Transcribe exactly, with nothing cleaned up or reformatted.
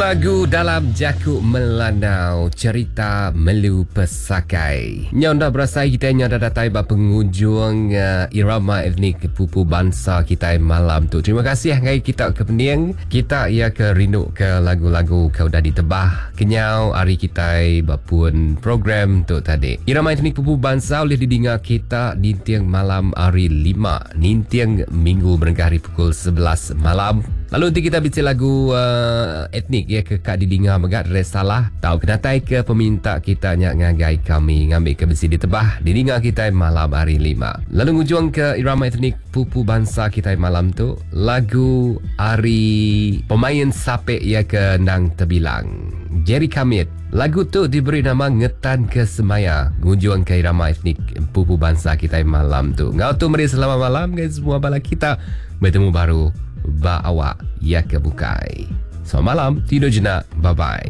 Lagu dalam jaku Melanau Cerita Melu Pesakai. Nyau enda berasai kita nyau dah datai ba penghujung uh, irama etnik pupu bansa kita malam tu. Terima kasih ngai kita ke pening. Kita ia ke rindu ke lagu-lagu ke udah ditebah kenyau hari kita bapun program tu tadi. Irama etnik pupu bansa boleh didengar kita ninting malam hari lima, ninting minggu berengkah hari pukul sebelas malam. Lalu nanti kita bicara lagu uh, etnik ya ke kak didengar megat resalah tau kenatai ke peminta kita nyak ngagai kami ngambil ke besi ditebah didengar kita malam hari lima. Lalu ngujung ke irama etnik pupu bangsa kita malam tu lagu hari pemain sapek ya ke nang terbilang Jerry Kamit. Lagu tu diberi nama Ngetan ke Semaya. Ngujung ke irama etnik pupu bangsa kita malam tu. Ngau tu meri selamat malam guys semua bala kita. Bertemu baru ba awak ya ke bukai. Selamat malam, tidur jenak. Bye bye.